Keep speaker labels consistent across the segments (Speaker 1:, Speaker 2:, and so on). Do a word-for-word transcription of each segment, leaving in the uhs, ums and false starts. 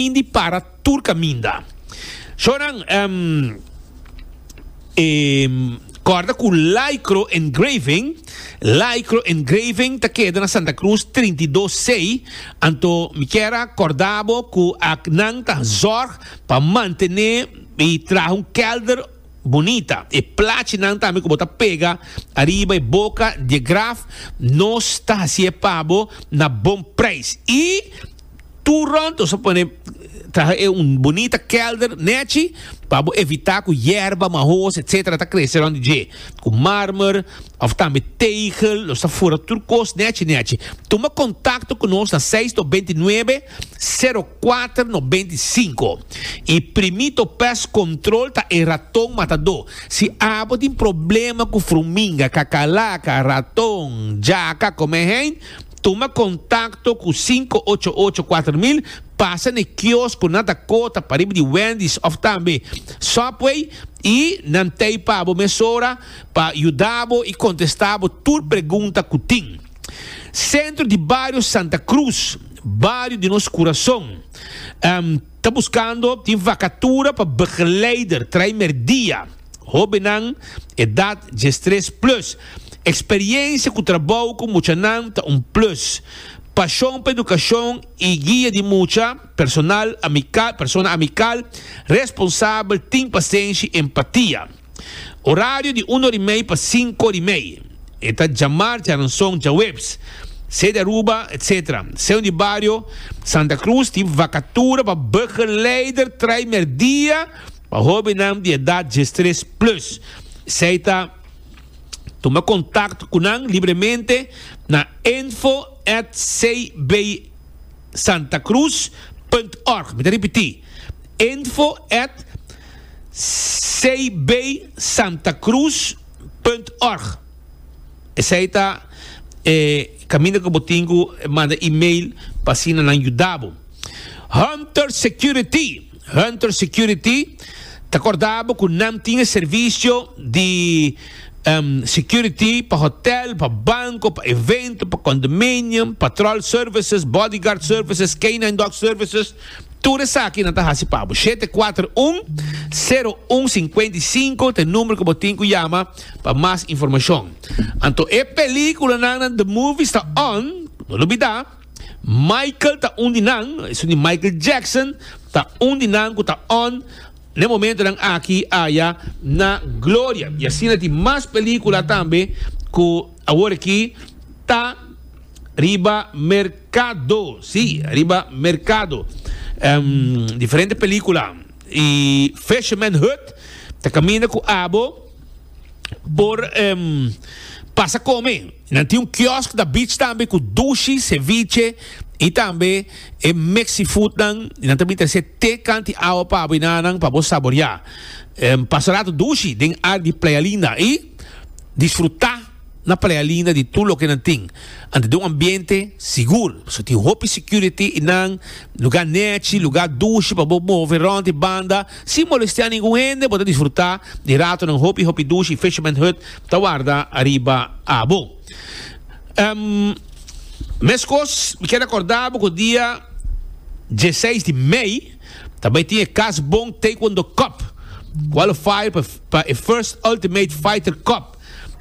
Speaker 1: Indi para tur caminda. Shonan, um, um, corda cu Lycro Engraving, Lycro Engraving ta keda na Santa Cruz trinta i dos C, anto mi kier a corda bo cu nan ta zorg pa mantene y traha un kelder bunita. E plachinan tambe cu bo ta pega ariba e boca di graf, nos ta haci pa bo na bon prijs. Y tur rond, nos pone traha un bunita kelder nechi pa evita cu yerba, mahos, et cetera ta crece rond dje. Cu marmer, of tambe tegel, nos ta fura tur cos nechi nechi. Tuma contacto cu nos na seis nove nuebe zero cuater nove cinco. Y Primito Pest Control ta e raton matador. Si abo tin problema cu fruminga, cacalaca, raton, djaca, come, tuma contacto cu cinco ocho ocho cuater mil, pasa na kiosco na Dakota, pariba di Wendy's of tambe Subway y nan t'ey pa bo mesora pa yuda bo y contesta bo tur pregunta cu tin. Centro di Bario Santa Cruz, bario di nos curason. Um, ta buscando, tin vacatura pa begeleider, traimerdia. Hobennan, edad diestres plus. Experiencia cu trabou cu muchanan ta un plus. Pasion pa educacion y guia di mucha, personal, amical, persona amical, responsabel, tin pasenshi y empatia. Horario di un or y mey pa cinco or y mey. E ta diamars, diaranson, diahuebs. Sede Aruba, et cetera. Centro di Bario, Santa Cruz, tin vacatura pa begeleider, traimerdia, pa hobennan di edad diestres plus. Esey ta tuma contacto cu nan libremente na info at C B santacruz punto org. Mi ta ripiti. info at C B santacruz punto org. Esey ta eh, caminda cu bo tin cu manda e-mail pa asina nan yuda bo. Hunter Security. Hunter Security. Ta corda bo cu nan tin servicio di um, security pa hotel, pa banco, pa evento, pa condominium, patrol services, bodyguard services, K nine dog services. Tur esaki nan ta hasi pa bo. shete cuater un zero un cinco cinco ta e number cu bo tin cu yama pa mas informacion. Anto e peliculanan The Movies ta on, no lubida. Michael ta un di nan, esun di Michael Jackson, ta un di nan cu ta on na momentonan aki aya na Gloria. Y asina tin mas pelicula tambe cu awor aki ta riba mercado. Si, riba mercado. Um, diferente pelicula. Y Fisherman Hut, ta caminda cu abo por um, pasa come. Nan tin un kiosk da beach tambe cu dushi, ceviche y tambe e mexi food nan. Nan tambe tin te canti awa pa abo nan pa bo saborea. Um, pasa rato dushi den area di Playa Linda y disfruta na Playa Linda di tur loke nan tin. Anto den un ambiente sigur. So tin hopi security y nan lugar nechi, lugar dushi pa bo move rond e banda, sin molestia ningun hende, bo disfruta di rato nan hopi hopi dushi. Fisherman Hut ta warda ariba abo. Um, Mescos, mi kier corda cu dia diesseis di mei tambe tin Cas Bon Taekwondo Cup. Qualifier pa e First Ultimate Fighter Cup.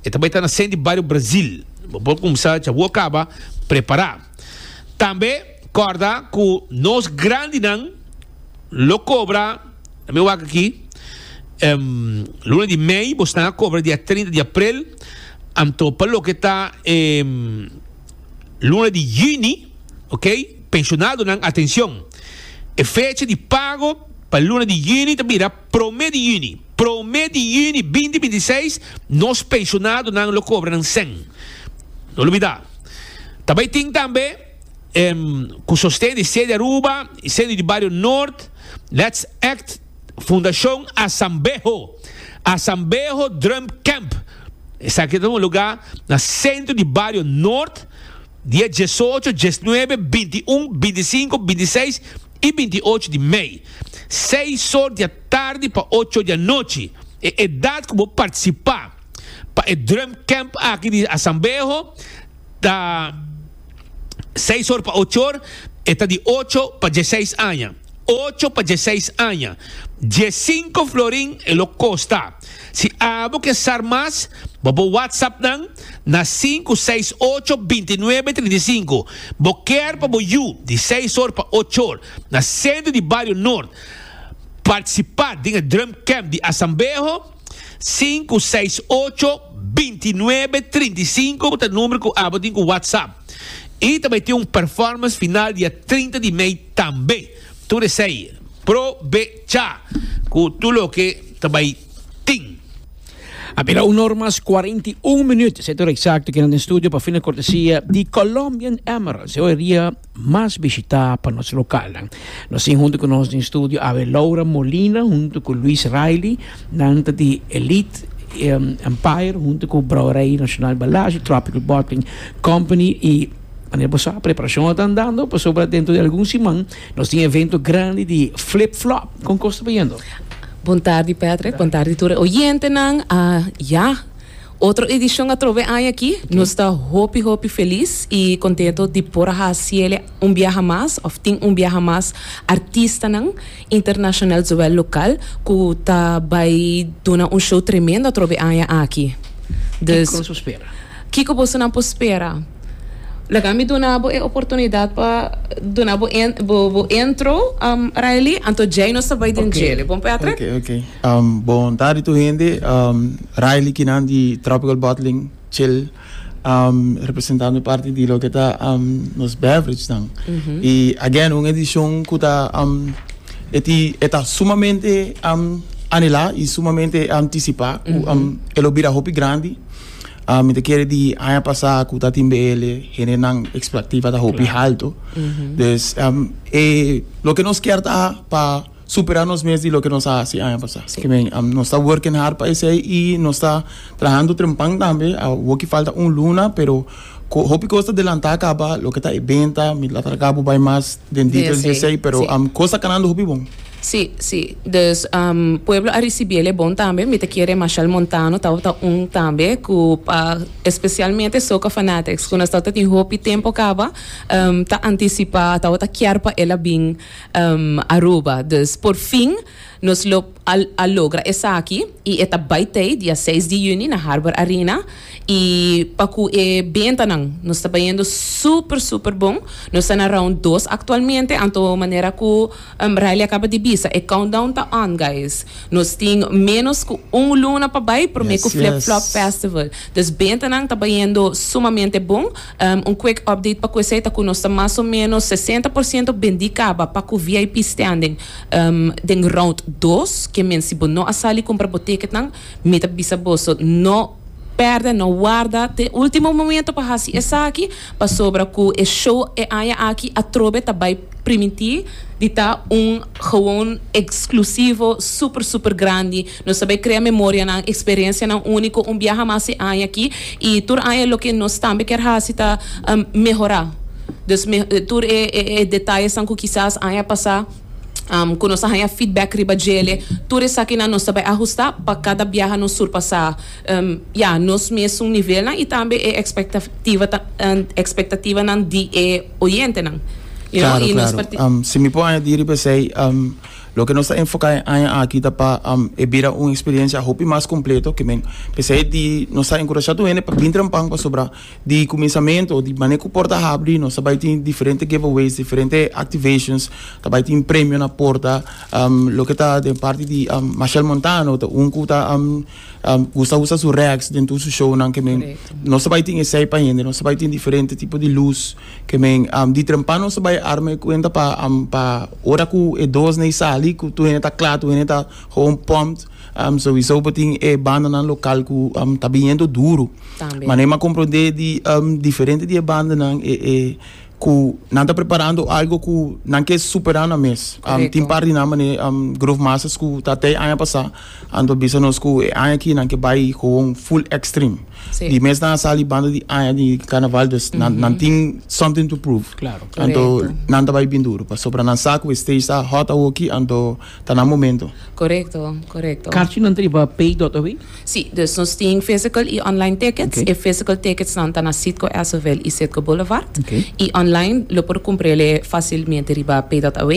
Speaker 1: Y tambe ta na Sandy Barrio Brasil. Bo cuminsa, ya bo caba prepara. Tambe, corda cu nos grandinan lo cobra, mi wak aki, um, luna di mei, bo ta cobra dia trinta di april, anto pa loke ta um, luna di juni, ok? Pensionadonan, atencion. E fecha di pago pa luna di juni ta bira prome di juni. Prome di juni dos mil binti seis, nos pensionadonan lo cobra nan cen. No lubida. Tambe tin tambe um, cu sosten di Sede Aruba, Sede di Bario Noord, Let's Act, Fundacion Asambejo, Asambejo Drum Camp. Esaki ta un lugar na centro di Bario Noord, dia diesocho, diesnuebe, binti un, binticinco, bintiseis y binti ocho di mei. seis or di atardi pa ocho di anochi. E edad cu bo participa pa e Drum Camp aki di Asambejo ta seis or pa ocho or, ta di ocho pa diesseis aña. Ocho pa diesseis aña. Diescinco florin e lo costa. Si abo ke sa mas, bo por WhatsApp nan na sinku seis ocho binti nuebe trinta i sinku. Bo kier pa bo yu di seis or pa ocho or na Centro di Bario Noord participa den e Drum Camp di Asambeho? Sinku seis ocho binti nuebe trinta i sinku ta e number ku abo tin ku WhatsApp. I ta bai tin un performance final dia trinta di mei tambe. Tur esei probecha ku tur loke ta bai tin.
Speaker 2: A bira un or mas cuarenta y un minuut, esei ta ora exacto kinan den studio pa fina cortesia di Colombian Emeralds, e hoeria mas bishita pa nos localnan. Nos tin hunto cu nos den studio awe Laura Molina hunto cu Luis Riley, nan ta di Elite Empire hunto cu Brouwerij Nacional Balashi, Tropical Bottling Company y manera bo sa preparacion a ta andando pasobra dentro di algun siman nos tin evento grandi di Flip Flop. Con cos ta bayendo?
Speaker 3: Bon tardi Patrick, bon tardi tur e oyentenan. Ah ya, otro edicion atrobe aña aki. Nos ta hopi hopi feliz y contento di por a haci el un biaha mas of tin un biaha mas artistanan internacional zowel local cu ta bay duna un show tremendo atrobe aña aki. Dus
Speaker 2: Kico nos por spera?
Speaker 3: Kico bosonan por spera? Laga mi duna bo e oportunidad pa duna bo en, bo, bo intro, um, Riley. Anto djei nos ta bai den
Speaker 4: Ok.
Speaker 3: djele. Bon, Patrick?
Speaker 4: Ok, ok. Um, bon tardi tur hende. Um, Riley kinan di Tropical Bottling Chill, um, representando parti di loke ta, um, nos beverage nan. Y again, un edicion cu ta, um, e ti, e ta sumamente, um, anhela y sumamente anticipa cu, um, e lo bira hopi grandi. Ah, mi ta kere di aña pasá ku ta tin B L, hendenan expectativa ta hopi halto. Dus, um, e, loke nos kier ta pa supera nos mes di loke nos a hasi aña pasá.
Speaker 3: Sí.
Speaker 4: Ke men, um, nos ta working hard pa esei i nos ta trahando trempan tambe. Awoki falta un luna, pero ko, hopi kos ta delantá kaba, loke ta e benta, mi la traga bo bai mas den details
Speaker 3: Sí,
Speaker 4: di esei, pero,
Speaker 3: sí.
Speaker 4: um, kos ta kanando hopi bon.
Speaker 3: Sí, sí. Dus, um, pueblo a ricibiele bon tambe. Mi te quiere Machel Montano, tau ta un tambe, ku pa, especialmente soca fanatics, ku nos tau tin hopi tempo kaba, um, ta anticipa, tau ta kier pa ela bin, um, Aruba. Dus, por fin, nos lo al, a logra esaki, y eta baitei, dia seis di juni, na Harbor Arena, y pa ku e bentanan, nos ta bayendo super, super bon. Nos ta na round dos actualmente, anto manera ku, um, Riley acaba di bisa, e countdown ta on, guys. Nos tin menos ku un luna pa bai, prome
Speaker 4: Yes,
Speaker 3: ku Flip
Speaker 4: yes.
Speaker 3: Flop Festival. Dus bentanan ta bayendo sumamente bon. Um, un quick update pa ku esei ta ku nos ta mas o menos sesenta por ciento bendi kaba pa ku V I P standing, um, den round dos, ke men si bo no a sali compra bo ticket nan, mi ta bisa boso, no perde, no guarda te último momento pa hasi esaki, pa sobra ku e show e aña aki atrobe ta bai priminti di ta un gewoon exclusivo super, super grandi. Nos ta bai crea memoria nan, experiencia nan único, un viaja mas e aña aki, y tur aña lo que nos tambe kier hasi ta, um, mejora. Dus me, tur e, e, e detalles nan ku quizás aña pasa, um, ku nos haya feedback riba djele, tur esaki nan nos ta bai ajusta pa cada viaja nos surpasa, um, ja, nos mes un nivel nan, y tambe e expectativa ta, um, expectativa nan di e oyente nan. You know,
Speaker 4: Claro,
Speaker 3: y nos
Speaker 4: claro.
Speaker 3: parti-
Speaker 4: Um, si mi puedo añadir, pues, hey, um, lo que nos ta enfoca en aña aki ta pa, um, e bira un experiencia hopi mas completo, que men, pues, hey, di, nos ta encoraja tu hende pa bin trampan pa sobra di comienzamento, di manejo porta habri, nos ta bai tin diferente giveaways, diferente activations, ta bai tin premio na porta, um, lo que ta de parte di, um, Machel Montano, ta un ku ta, um, um, gusta usa su racks dentro su show nan, que men,
Speaker 3: Correcto.
Speaker 4: nos ta bai tin esei pa hende, nos ta bai tin diferente tipo di luz, que men, um, di trampan nos ta bai arme cuenta pa, um, pa ora ku e dos nei sali, ku tu hende ta kla, tu hende ta gewoon pumped, um, sowieso botin e banda nan local ku, um, ta biniendo duro.
Speaker 3: Tambe.
Speaker 4: Maar nee, maar comprende di, um, diferente di banda nan, e, e, ku nan ta preparando algo ku nan ke superar na mes. Um,
Speaker 3: Correcto.
Speaker 4: tin par di nan mane, um, Groove Masters ku ta te aña pasa, ando bisa nos ku e aña ki nan ke bai gewoon full extreme.
Speaker 3: Sí.
Speaker 4: Di mes nan sali banda di aña di carnaval, dus nan,
Speaker 3: Mhm.
Speaker 4: nan tin something to prove.
Speaker 2: Claro.
Speaker 4: Anto
Speaker 3: Correcto.
Speaker 4: nan ta bai bin duro, pasobra nan sa ku stage ta hot awoki, anto ta na momento.
Speaker 3: Correcto, correcto.
Speaker 2: Kartje nan triba pay dot o w?
Speaker 3: Sí, dus nos tin physical y online tickets.
Speaker 2: Okay.
Speaker 3: E physical tickets nan ta na Citgo Essoville y Citgo Boulevard.
Speaker 2: Okay.
Speaker 3: Y online Online lo por cumpr'ele facilmente riba pay punto aw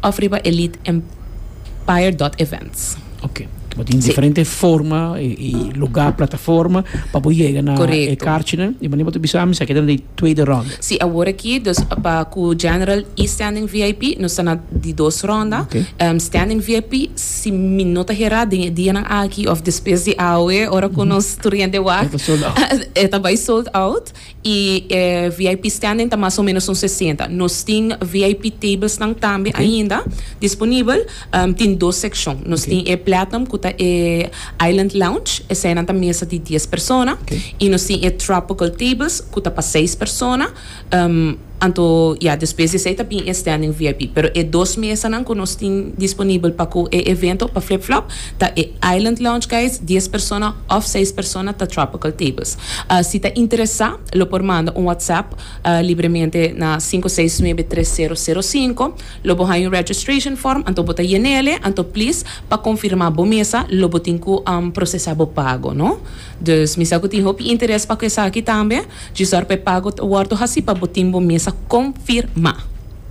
Speaker 3: of riba elite empire punto events.
Speaker 2: Ok. Bo tin
Speaker 3: Si.
Speaker 2: diferente forma y, y lugar, plataforma pa bo yega na
Speaker 3: Correcto.
Speaker 2: e kaartje. Y wanneer bo bisa, esaki ta di tweede ronde.
Speaker 3: Si, awor aki, dus pa cu General y Standing V I P, nos ta na di dos ronda.
Speaker 2: Ok.
Speaker 3: Um, standing V I P, si mi no ta hera, den dia nan aki of despues di awe, ora cu nos tur hende wak.
Speaker 2: E ta sold out.
Speaker 3: E ta bay sold out. Y eh, V I P standing ta mas o menos un sesenta. Nos tin V I P tables nan tambe
Speaker 2: Ok.
Speaker 3: ainda disponibel. Um, tin dos seccion. Nos
Speaker 2: Ok.
Speaker 3: tin e Platinum, cu ta e Island Lounge, esey ta mesa di dies persona.
Speaker 2: Ok.
Speaker 3: Y nos tin e Tropical Tables, cu ta pa seis persona. Um, anto, ja, despues di esey tambe e Standing V I P. Pero e dos mesa nan cu nos tin disponibel pa e evento, pa Flip Flop, ta e Island Lounge, guys, dies persona of seis persona ta Tropical Tables. Uh, si ta interesa, lo por manda un WhatsApp uh, libremente na cinco seis nuebe tres cero cero cinco, lo bo haya un registration form, anto bo ta yen'ele, anto please, pa confirma bo mesa, lo bo tin cu um, procesa bo pago, no? Dus mi sa cu tin hopi interes pa esaki tambe, djis pa pago wordo hasi pa bo tin bo mesa confirma.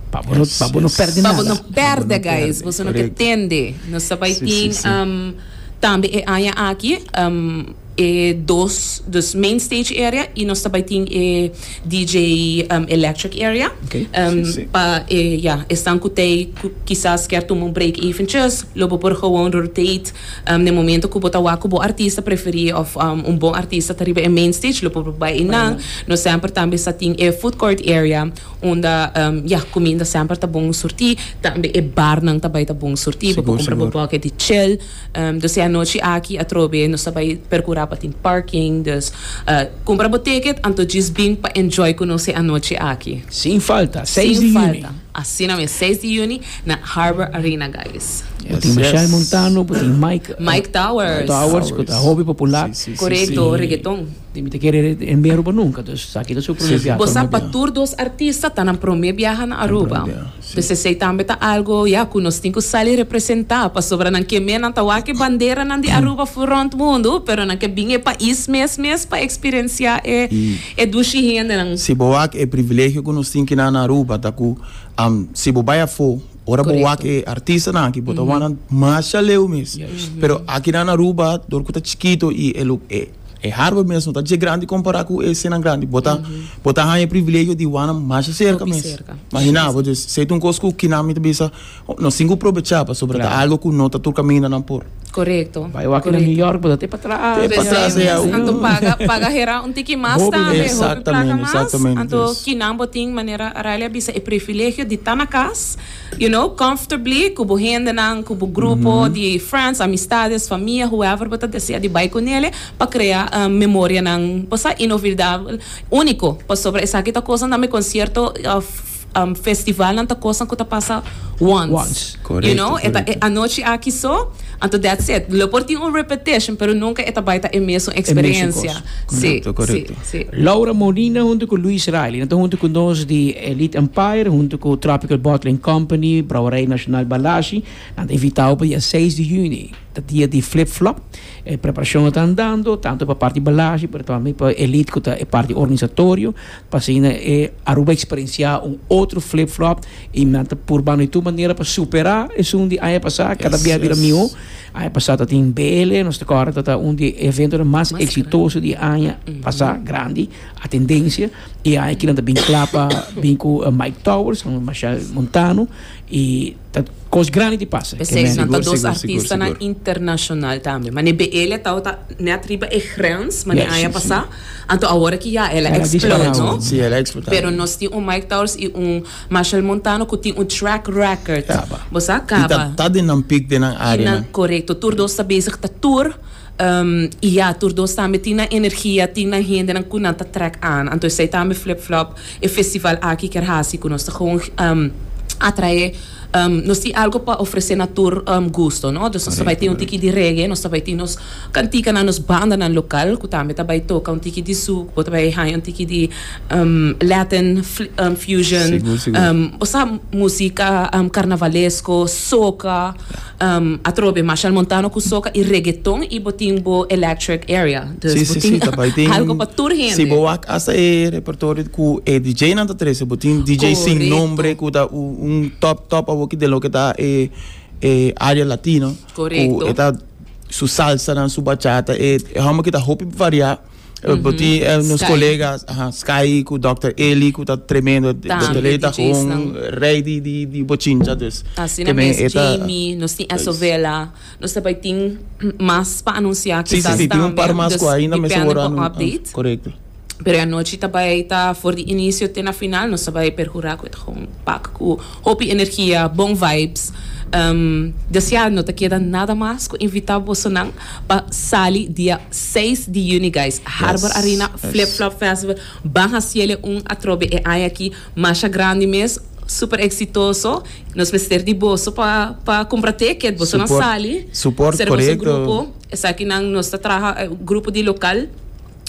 Speaker 2: Pa bo no,
Speaker 4: Yes,
Speaker 2: pa bo no
Speaker 4: yes.
Speaker 2: perde
Speaker 3: Pa bo
Speaker 2: nada.
Speaker 3: no perde,
Speaker 4: no
Speaker 3: guys.
Speaker 4: perde,
Speaker 3: Bo no
Speaker 4: correcto.
Speaker 3: tende. Nos ta bay
Speaker 4: Si,
Speaker 3: tin
Speaker 4: si, si.
Speaker 3: um, tambe e aña aki, um, e dos, dus main stage area y nos tambe tin e D J um, electric area.
Speaker 2: Ok.
Speaker 3: Um,
Speaker 4: Si, si.
Speaker 3: Pa, eh, ja, esnan cu tey cu kisas kier tuma un break eventjes, lo bo por gewoon rotate um, na momento cu bo ta wak bo artista preferi of um, un bon artista ta riba e main stage, lo por bay einan. Nos semper tambe sa tin e food court area unda um, ja, cuminda semper ta bon surti, tambe e bar nan tambe ta bon surti, bo
Speaker 4: Sigur,
Speaker 3: cumpra bo
Speaker 4: sigur.
Speaker 3: pocket di chill. Um, dus e anochi aki atrobe nos tambe percura pa tin parking, dus uh, cumpra bo ticket anto just bin pa enjoy cu nos e anochi aki.
Speaker 2: Sin falta, seis
Speaker 3: Sin
Speaker 2: di juni.
Speaker 3: falta. Asina mes, seis di juni na Harbor Arena, guys.
Speaker 2: Bo tin
Speaker 4: Yes,
Speaker 2: Michelle
Speaker 4: yes.
Speaker 2: Montano, bo tin Mike
Speaker 3: Mike Towers.
Speaker 2: Towers, cu ta hopi popular.
Speaker 4: Si, si, si,
Speaker 3: Correcto,
Speaker 2: si.
Speaker 3: reggaeton.
Speaker 2: Di mi ta kere en Aruba nunca, dus aki ta su prome
Speaker 4: Si, si.
Speaker 2: biaha.
Speaker 3: Bo sa
Speaker 4: prome
Speaker 3: pa
Speaker 4: biaha.
Speaker 3: tur dos artista ta nan prome biaha na Aruba.
Speaker 4: Prome biaha, si.
Speaker 3: Dus esey tambe ta algo, ja, cu nos tin cu sali representa, pasobra nan ke men nan ta wak e bandera nan di Aruba for rond mundo, pero nan ke bin e pais mes mes pa experiencia e e dushi hende nan.
Speaker 4: Si bo wak e privilegio cu nos tin aki na Aruba, ta cu um, si bo bay afo, ora
Speaker 3: Correcto.
Speaker 4: bo wak e artista nan aki, bo ta wak nan mas leu mes. Pero aki na Aruba, door cu ta chikito y e lu- e e harbor mes no ta dje grandi compara cu e escena grandi. Bo ta bo ta haya e privilegio di wak nan mas cerca
Speaker 3: Hopi
Speaker 4: mes.
Speaker 3: cerca.
Speaker 4: Imagina, bo dus esey ta un cos cu kinan mi ta bisa, nos tin cu aprovecha pasobra
Speaker 2: Claro.
Speaker 4: ta algo cu no ta tur caminda nan por.
Speaker 3: Correcto.
Speaker 2: Bay wak na New York, bo ta te pa atras.
Speaker 4: Te pa atras, ja.
Speaker 3: Anto paga paga hera un tiki mas
Speaker 2: Hopi
Speaker 3: tambe, hopi placa
Speaker 4: Exactamente,
Speaker 3: mas.
Speaker 4: exactamente.
Speaker 3: Anto kinan bo tin, manera Riley a bisa, e privilegio di ta na cas, you know, comfortably, cu bo hendenan, cu bo grupo di friends, amistades, famia, whoever bo ta desea di bay cu ne, pa crea um, memoria nan, posa inolvidabel, unico, pasobra esaki ta cos nan concierto of um, festival nan ta cos cu ta pasa once.
Speaker 2: Once.
Speaker 4: Correcto,
Speaker 3: You know, e ta
Speaker 4: correcto.
Speaker 3: e anochi aki so, anto that's it. Lo por tin un repetition, pero nunca e ta bay ta e mesun experiencia. Si,
Speaker 4: Correcto, correcto.
Speaker 3: si, si.
Speaker 2: Laura Molina hunto cu Luis Riley, anto hunto cu nos di Elite Empire, hunto cu Tropical Bottling Company, Brouwerij Nacional Balashi, nan ta invita pa dia seis di juni, e dia di Flip Flop. E preparacion ta andando, tanto pa parti Balashi, pero tambe pa Elite, cu ta e parti organisatorio, pa asina e Aruba experiencia un otro Flip Flop y nan ta purbando di tur manera pa supera esun di aña pasa, cada
Speaker 4: Yes,
Speaker 2: dia bira
Speaker 4: yes.
Speaker 2: miho. Aña pasa tin B L, nos ta corda, ta un di e evento mas
Speaker 3: Mas
Speaker 2: exitoso di aña pasa, grandi, a tendencia, y aki nan bin cla pa bin cu uh, Mike Towers, cu Machel Montano y ta cos grandi di pasa.
Speaker 3: Precies,
Speaker 2: Ke men-
Speaker 3: nan ta
Speaker 4: Sigur,
Speaker 3: dos
Speaker 4: sigur,
Speaker 3: artista
Speaker 4: sigur,
Speaker 3: na
Speaker 4: sigur.
Speaker 3: internacional tambe. Ma B L ta ta net riba e grens, ma
Speaker 2: Yes,
Speaker 3: aña
Speaker 2: si,
Speaker 3: pasa. Anto awor cu ja, el a
Speaker 2: El a
Speaker 3: explode,
Speaker 2: disparado.
Speaker 3: no?
Speaker 4: Si, el a explota.
Speaker 3: Pero nos tin un Mike Towers y un Machel Montano cu tin un track record.
Speaker 4: Caba.
Speaker 3: Bo
Speaker 4: Y ta
Speaker 3: caba.
Speaker 4: ta den een piek den een area.
Speaker 3: Na, correcto. Tur dos ta bezig ta tour. Um, y ja, tur dos tambe tin energia, tin hende nan cu nan ta trek aan. Anto esey tambe Flip Flop e festival aki kier hasi cu nos ta gewoon um, atrae Um, nos tin algo pa ofrece na tur um, gusto, no? Dus nos bay tin un tiki di reggae, nos bay tin nos cantica na nos banda na local, cu tambe ta bay toca un tiki di souk, bo bay haya un tiki di um, Latin um, fusion,
Speaker 4: Sigur, sigur.
Speaker 3: um, osea, musica um, carnavalesco, soca, um, atrobe Machel Montano cu soca y reggaeton y bo tin bo electric area. Dus
Speaker 4: Si, si,
Speaker 3: bo tin
Speaker 4: si, tambe tin
Speaker 3: algo pa tur hende.
Speaker 4: Si, bo wak hasta e repertorio cu e D J nan ta trece, bo tin D J Sin
Speaker 3: Correcto.
Speaker 4: Nombre, cu ta un, un top top awo di loke ta e e area latino.
Speaker 3: Correcto.
Speaker 4: Cu ta su salsa, nan, su bachata, e e hamo cu ta hopi varia. Mm -hmm. Bo tin eh, nos
Speaker 3: Sky.
Speaker 4: Colegas, aha, Sky, cu Doctor Eli, cu ta tremendo,
Speaker 3: Tambe,
Speaker 4: Doctor Eli ta
Speaker 3: D Js
Speaker 4: un
Speaker 3: nan.
Speaker 4: rey di di di bochincha, dus.
Speaker 3: Asina
Speaker 4: Que men
Speaker 3: mes,
Speaker 4: eta-
Speaker 3: Jamie, nos tin Esovela, nos tambe tin mas pa anuncia.
Speaker 4: Si, si, si, tin un par mas
Speaker 3: Dus
Speaker 4: cu ainda me
Speaker 3: depende
Speaker 4: seguro
Speaker 3: pa
Speaker 4: anu-
Speaker 3: update.
Speaker 4: Correcto.
Speaker 3: Pero anochi tambe ta for di inicio te na final, nos tambe percura cu gewoon pak cu hopi energia, bon vibes. Um, dus ja, no ta keda nada mas cu invita boso nan pa sali dia seis di juni, guys. Harbor Arena,
Speaker 4: yes.
Speaker 3: Flip Flop Festival. Ban haci'e un atrobe e aña aki, masha grandi mes, super exitoso. Nos mester di boso pa pa cumpra ticket, boso nan
Speaker 4: Support-
Speaker 3: sali.
Speaker 4: Support,
Speaker 3: Ser boso
Speaker 4: correcto.
Speaker 3: grupo. Esaki nan nos ta traha eh, grupo di local.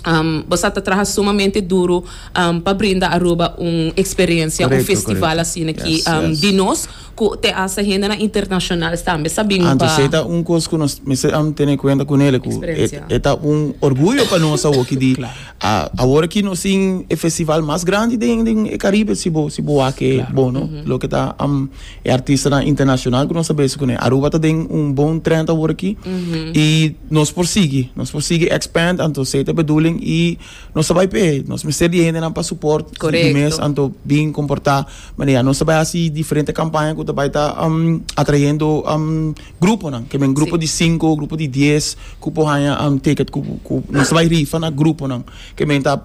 Speaker 3: Um, boso ta traha sumamente duro um, pa brinda Aruba un experiencia, un
Speaker 4: Correcto,
Speaker 3: festival
Speaker 4: correcto.
Speaker 3: asina aki
Speaker 4: Yes,
Speaker 3: um,
Speaker 4: yes.
Speaker 3: di nos, cu te hasta hende na internacional tambe sabi
Speaker 4: Anto,
Speaker 3: pa
Speaker 4: esey ta un cos cu nos mester um, tene cuenta cu ne, cu
Speaker 3: Experiencia.
Speaker 4: e ta un orguyo pa nos awo di a awor aki nos tin e festival mas grandi den den Caribe, si bo si bo wak bon, no? Loke ta um, e artista na internacional cu nos sa cu ne. Aruba ta den un bon trend awor aki y nos por sigui, nos por sigui expand, anto esey ta bedoeling y nos bay pe, nos mester di hende nan pa support
Speaker 3: Correcto.
Speaker 4: di mes, anto bin comporta manera nos bay haci diferente campaña cu bay ta um, atrayendo um, grupo nan, cu un grupo
Speaker 3: Si.
Speaker 4: di cinco, grupo di dies, cu por haya um, ticket, cu cu nos bay rifa na grupo nan, kiermen ta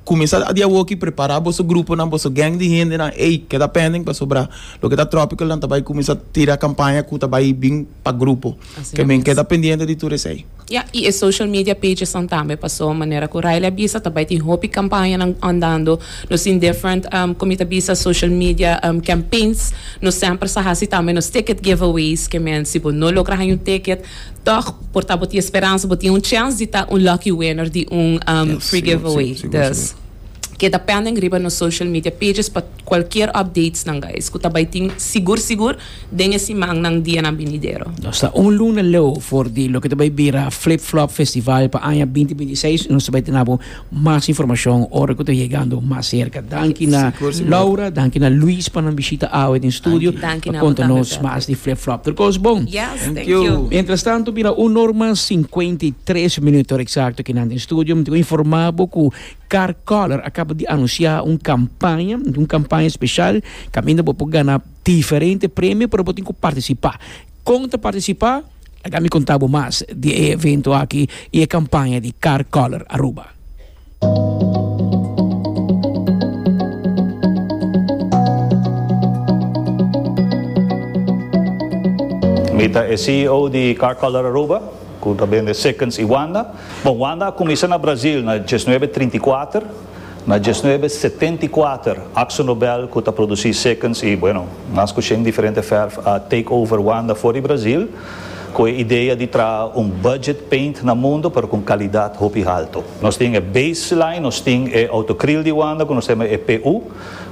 Speaker 4: cuminsa di awo aki prepara boso grupo nan, boso gang di hende nan, ey, keda pending pa sobra loke ta Tropical nan bay cuminsa tira campaña cu ta bay bin pa grupo.
Speaker 3: Asina
Speaker 4: Kiermen
Speaker 3: mes.
Speaker 4: Keda pendiente di tur esey.
Speaker 3: Ja, y e social media pages nan tambe, paso manera cu Riley a bisa, tambe tin hopi campaña nan andando, nos tin different um, con ta bisa, social media um, campaigns, nos semper sa hasi tambe nos ticket giveaways, kiermen si bo no logra un ticket, toch por ta bo tin speransa, bo tin un chance di ta un lucky winner di un um,
Speaker 4: Yes,
Speaker 3: free
Speaker 4: sigur,
Speaker 3: giveaway.
Speaker 4: sigur, sigur,
Speaker 3: Dus keda pending riba nos social media pages pa cualkier updates nan, guys. Cu tambe tin sigur sigur den e siman nan dia nan binidero.
Speaker 2: Nos ta un luna leu for di loke ta bay bira Flip Flop Festival pa aña binti bintiseis. Nos bay tin mas informacion ora cu ta yegando mas cerca. Danki na
Speaker 4: Sigur, sigur.
Speaker 2: Laura, danki na Luis pa nan bishita awe den studio.
Speaker 3: Danki
Speaker 2: Pa
Speaker 3: na
Speaker 2: conta
Speaker 3: bo
Speaker 2: nos
Speaker 3: tambe,
Speaker 2: mas di Flip Flop. Tur cos bon.
Speaker 3: Yes, thank
Speaker 4: Thank you.
Speaker 3: you.
Speaker 2: Mientras tanto, mira, un or cincuenta y tres minuut exacto aki na studio. Mi ta informa cu Car Color a caba di anuncia un campaña, un campaña special, caminda pa gana diferente premio, pero bo tin cu participa. Con ta participa? Laga mi conta bo mas di e evento aki y e campaña di Car Color Aruba.
Speaker 5: Mi ta e C E O di Car Color Aruba, cu ta bende Sikkens y Wanda. Bon, Wanda a cuminsa na Brasil na diesnuebe trinta i cuater, na diesnuebe setenta i cuater, Akzo Nobel, cu ta produci Sikkens y, bueno, mas cu diferente verf, a take over Wanda for di Brasil, cu e idea di traha un budget paint na mundo, pero cu calidad hopi halto. Nos tin e baseline, nos tin e autocryl di Wanda, cu nos tin e P U,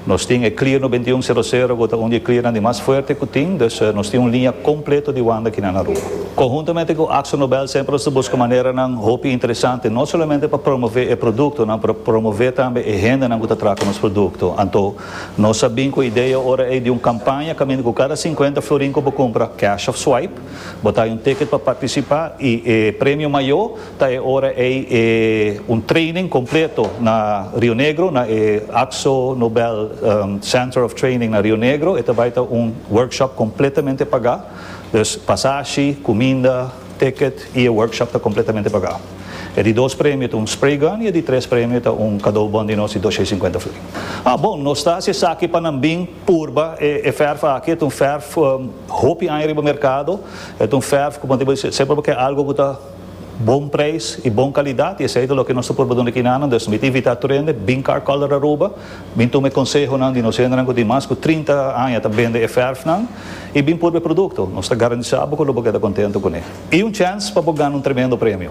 Speaker 5: nos tin e Clear noventa i un sero sero, cu ta un di clear di mas fuerte cu tin, dus uh, nos tin un linea completo di Wanda aki na Aruba. Conhuntamente cu Akzo Nobel, semper nos ta busca manera nan hopi interesante, no solamente pa promove e producto, no, pa promove tambe e hende nan cu ta traha nos producto. Anto, nos a bin cu e idea ora ey di un campaña, caminda cu cada cincuenta florin cu cumpra cash of swipe, bo ta un ticket pa participa y e premio mayor ta e ora ey e un training completo na Rio Negro, na e Akzo Nobel um, Center of Training na Rio Negro, y tambe ta un workshop completamente paga. Dus pasashi, cuminda, ticket y e workshop ta completamente paga. E di dos premio ta un spray gun y e di tres premio ta un cadeaubon di nos di doscientos cincuenta florin. Ah, bon, nos ta aki pa nan bin purba e, e verf aki, ta un verf um, hopi aña riba mercado, ta un verf, con semper pasobra algo cu ta Bon prijs y bon calidad, y esey ta loke nos por duna aki nan. Dus mi ta invita tur hende, bin Car Color Aruba, bin tuma conseho nan di nos hendenan cu tin mas cu trinta aña ta bende e verf nan, y bin purba e producto. Nos ta garantisa cu lo bo keda contento cu ne. Y un chance pa gana un tremendo premio.